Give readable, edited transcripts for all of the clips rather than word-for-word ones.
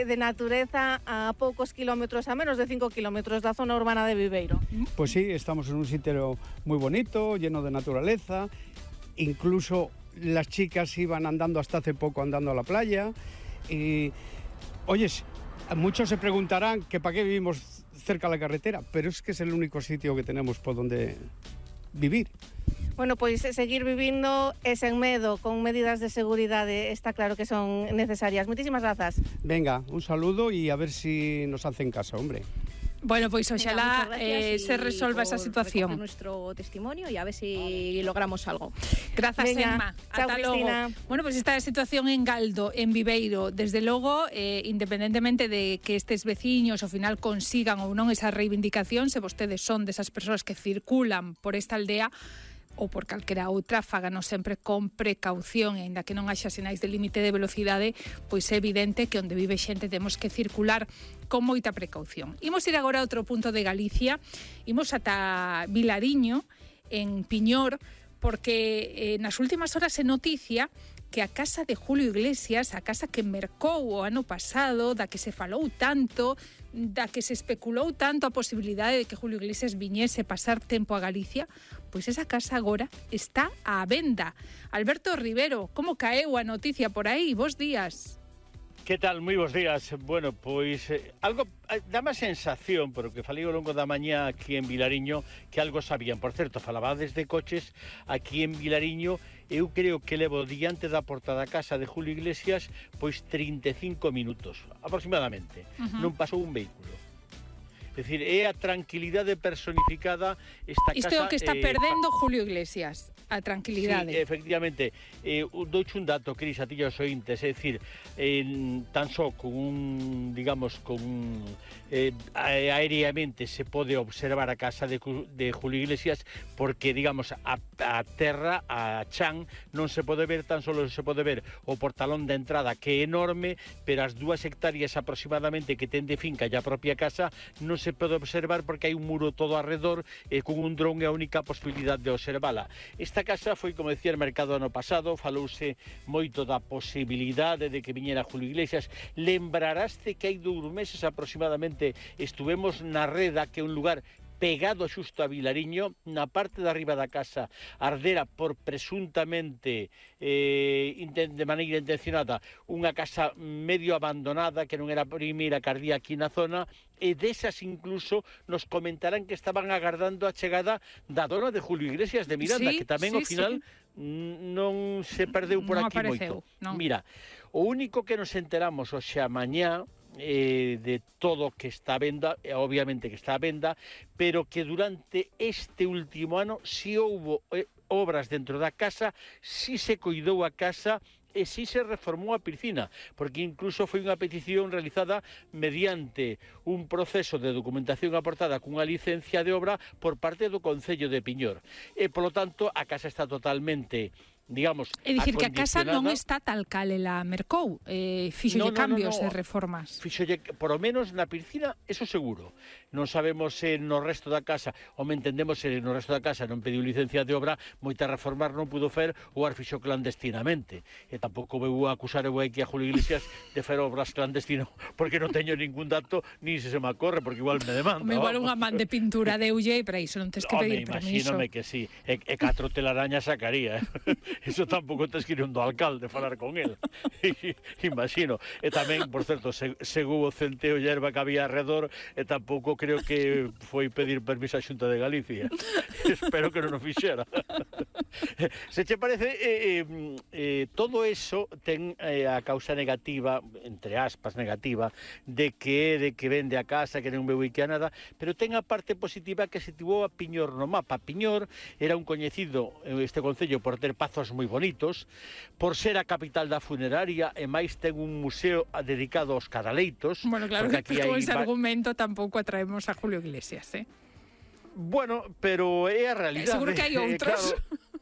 de natureza a poucos kilómetros, a menos de 5 kilómetros da zona urbana de Viveiro. Pues sí, estamos en un sitio muy bonito, lleno de naturaleza. Incluso las chicas iban andando hasta hace poco andando a la playa. Y, oyes, muchos se preguntarán que para qué vivimos cerca de la carretera, pero es que es el único sitio que tenemos por donde vivir. Bueno, pois seguir vivindo e sen medo, con medidas de seguridade, está claro que son necesarias. Moitísimas grazas. Venga, un saludo y a ver si nos hacen caso, hombre. Bueno, pues ojalá se resuelva esa situación. Nuestro testimonio y a ver si logramos algo. Gracias, Venga, Emma. chao, Ata logo. Cristina. Bueno, pues esta situación en Galdo, en Viveiro, desde logo, independentemente de que estes veciños ao final consigan ou non esa reivindicación, se vostedes son desas persoas que circulan por esta aldea, ou por calquera outra, fáganos sempre con precaución, e aínda que non haxa sinais de límite de velocidade, pois é evidente que onde vive xente temos que circular con moita precaución. Imos ir agora a outro punto de Galicia, imos ata Vilariño, en Piñor, porque nas últimas horas é noticia que a casa de Julio Iglesias, a casa que mercou o ano pasado, da que se falou tanto, da que se especulou tanto a posibilidade de que Julio Iglesias viñese pasar tempo a Galicia, pois esa casa agora está á venda. Alberto Rivero, como caeu a noticia por aí? Bos días. Que tal? Moi bons días. Bueno, pois algo dá má sensación, pero que falei ao longo da mañá aquí en Vilariño, que algo sabían. Por certo, falabades de coches aquí en Vilariño. Eu creo que levo diante da porta da casa de Julio Iglesias pois 35 minutos, aproximadamente. Non pasou un vehículo. É dicir, é a tranquilidade personificada esta casa. Isto é o que está perdendo Julio Iglesias, a tranquilidade. Sí, efectivamente. Douche un dato, Cris, a ti os ointes, é dicir, tan só con un, digamos, aéreamente se pode observar a casa de Julio Iglesias, porque, digamos, a terra, a chan, non se pode ver, tan só se pode ver o portalón de entrada, que é enorme, pero as 2 hectáreas aproximadamente que ten de finca e a propia casa non se pode observar porque hai un muro todo alrededor, e con un dron é a única posibilidade de observala. Esta casa foi, como decía, el mercado ano pasado, falouse moito da posibilidade de que viñera Julio Iglesias. Lembraraste que hai 2 meses aproximadamente estuvemos na Reda, que é un lugar pegado xusto a Vilariño, na parte de arriba da casa ardera por presuntamente de maneira intencionada unha casa medio abandonada que non era a primeira que ardía aquí na zona, e desas incluso nos comentarán que estaban agardando a chegada da dona de Julio Iglesias de Miranda, Sí, que tamén sí, ao final non se perdeu por Non aquí apareceu, moito. non. Mira, o único que nos enteramos hoxe a mañá de todo que está a venda, obviamente que está a venda, pero que durante este último ano si houbo obras dentro da casa, si se coidou a casa e si se reformou a piscina, porque incluso foi unha petición realizada mediante un proceso de documentación aportada cunha licencia de obra por parte do Concello de Piñor. E, polo tanto, a casa está totalmente, digamos, É dicir, que a casa non acondicionada. está tal cal ela mercou, fixolle cambios e reformas. Fixolle, por lo menos na piscina, eso seguro. Non sabemos se no resto da casa, ou me entendemos se no resto da casa non pediu licencia de obra, moita reformar non pudo fer ou as fixo clandestinamente. E tampouco vou acusar eu aquí a Julio Iglesias de fer obras clandestino, porque non teño ningún dato, ni se me acorre, porque igual me demanda. Igual unha man de pintura deulle, e para iso non tens que pedir permiso. Imagíname que sí, e 4 telarañas sacaría, Eso tampouco tens que ir do alcalde falar con el. Imagino. E tamén, por certo, según o centeo e erva que había alrededor, e tampouco creo que foi pedir permiso á Xunta de Galicia. Espero que non o fixera. Se che parece, todo eso ten a causa negativa, entre aspas negativa, de que vende a casa, que non veu que a nada, pero ten a parte positiva que se situou a Piñor no mapa. Piñor era un coñecido, este concello, por ter pazos moi bonitos, por ser a capital da funeraria, e máis ten un museo dedicado aos cadaleitos. Bueno, claro que aquí con ese argumento tampouco atraemos a Julio Iglesias, Bueno, pero é a realidade. Seguro que hai outros.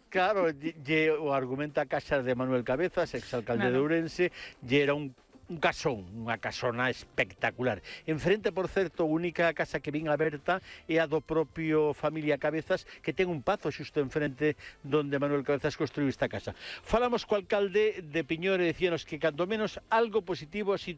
Claro, o argumenta a casa de Manuel Cabezas, exalcalde de Ourense, lle era un casón, unha casona espectacular. Enfrente, por certo, a única casa que vin aberta é a do propio familia Cabezas, que ten un pazo xusto enfrente donde Manuel Cabezas construiu esta casa. Falamos co alcalde de Piñor e decíanos que cando menos algo positivo así